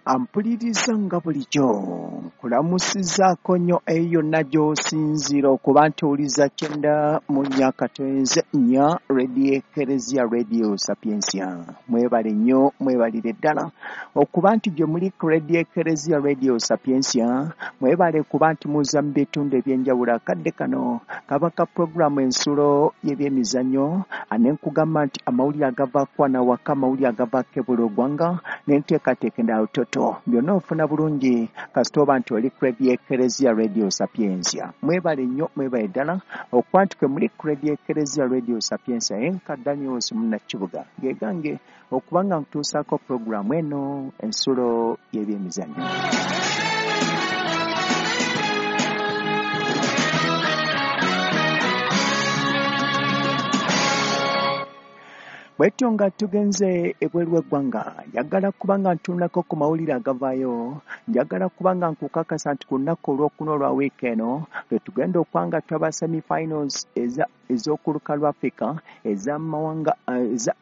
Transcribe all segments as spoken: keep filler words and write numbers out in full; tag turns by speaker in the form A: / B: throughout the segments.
A: Ampuliriza nga bulijjo nkulamusizaako nnyo eyo yonna gy'osinziira okuba nti owuliza kyenda mu nnya katonze nnya Radio Ekereziya Radio Sapientia. Mwebale nnyo, mwebalire ddala okuba nti gye muli ku Radio Ekereziya Radio Sapientia. Mwebale kuba nti muza mu bitundu ebyenjawulo. Akadde kano kaba ka puroguramu ensulo y'ebyemizannyo, ane nkugamba nti amawulire agavaako wano awaka, amawulire agavaako ebweru w'eggwanga n'enteekateeka endala toto byonna ofuna bulungi kasita oba nti oli ku Radio Ekereziya Radio Sapientia. Mwebale nnyo, mwebale ddala okuba nti kwe muli ku Radio Ekereziya Radio Sapientia. Enka Daniels Munnakibuga gegange okuba nga nkutuusaako puroguramu eno ensulo y'ebyemizannyo. Bwetyo nga tugenze ebweru w'eggwanga, njagala kuba nga ntunulako ku mawulire agavaayo. Njagala kuba nga nkukakasa nti ku lunaku olwokuna olwa wiiki eno lwe tugenda okuba nga twaba semifinals eza ez'okuluka lwa Africa ez'amawanga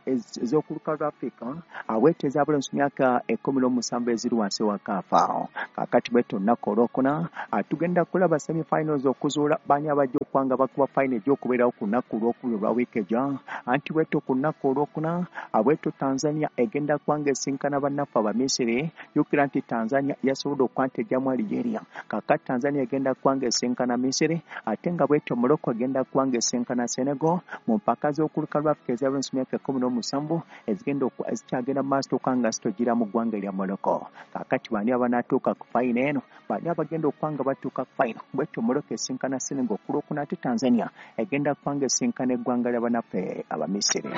A: ez'okuluka lwa Africa abwete ez'abulenzi mu myaka ekkumi n'omusanvu eziri wansi wa kaafa. Kaakati bwetyo olunaku olwokuna tugenda kulaba semifinals okuzuula baani abajja okuba nga bakuba final egy'okubeerawo ku lunaku olwokubiri olwa wiiki ejja. Anti bwetyo ku lunaku olwokuna abwetyo Tanzania egenda kuba nga esinkana bannaffe Abamisiri. Jjukira nti Tanzania yasobodde okuba nti ejjamu Algeria. Kaakati Tanzania egenda kuba nga esinkana Misiri, ate nga bwetyo Morocco egenda kuba nga esinkana Senegal mu mpaka z'okuluka lwa Africa ez'abulenzi mu myaka ekkumi n'omusanvu ezigenda ezikyagenda mu maaso okuba nga zitogira mu ggwanga erya Morocco. Kaakati baani abanaatuuka ku fayino eno? Baani abagenda okuba nga batuuka ku fayino? Bwetyo Morocco esinkana Senegal ku lwokuna, ate Tanzania egenda kuba nga esinkana eggwanga lya bannaffe Abamisiri.